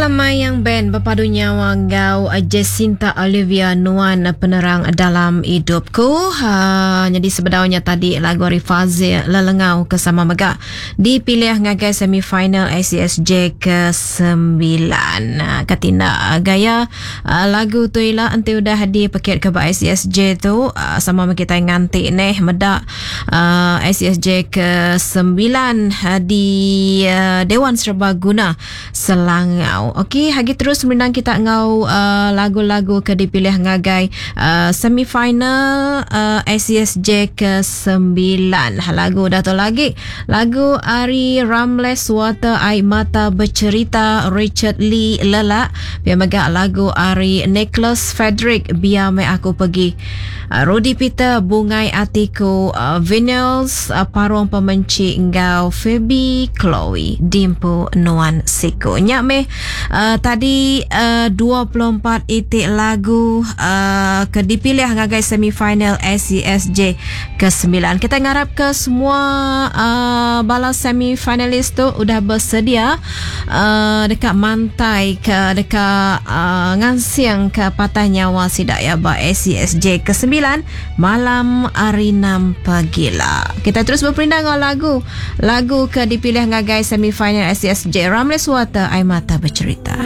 Mayang Band bepadu nyawa enggau Jacinta Olivia Nuan Penerang Dalam Idupku. Uh, nyadi sebedau nya tadi lagu ari Fazil Lelengau ke sama mega dipilih ngagai semifinal ACSJ ke-9. Uh, ketinda gaya uh, lagu tu ila enti udah dipekit ke ba ACSJ tu uh, sama meh kitai nganti neh meda uh, ACSJ ke-9 uh, di uh, Dewan Serbaguna Selangau. Okey, hagi terus merindang kita enggau uh, lagu-lagu ke dipilih ngagai uh, semifinal uh, ACSJ ke-9. Lagu dah tu lagi. Lagu ari Ramles Water Ai Mata Bercerita Richard Lee Lelak. Pia mega lagu ari Nicholas Frederick Biar Meh Aku Pergi. Uh, Rudy Peter Bungai Atiku uh, Vinyls uh, Parung Pemenchi enggau Phoebe Chloe Dimpu Nuan Siku. Nya meh uh, tadi uh, 24 itik lagu uh, ke dipilih ngagai semifinal ACSJ ke-9. Kita ngarap ke semua uh, bala semifinalis tu udah bersedia uh, dekat mantai ke dekat uh, ngansing ke patah nyawa sida ya ba ACSJ ke-9 malam hari 6 pagi lah. Kita terus berperindang dengan lagu lagu ke dipilih ngagai semifinal ACSJ Ramles Water Ai Mata Bercerita.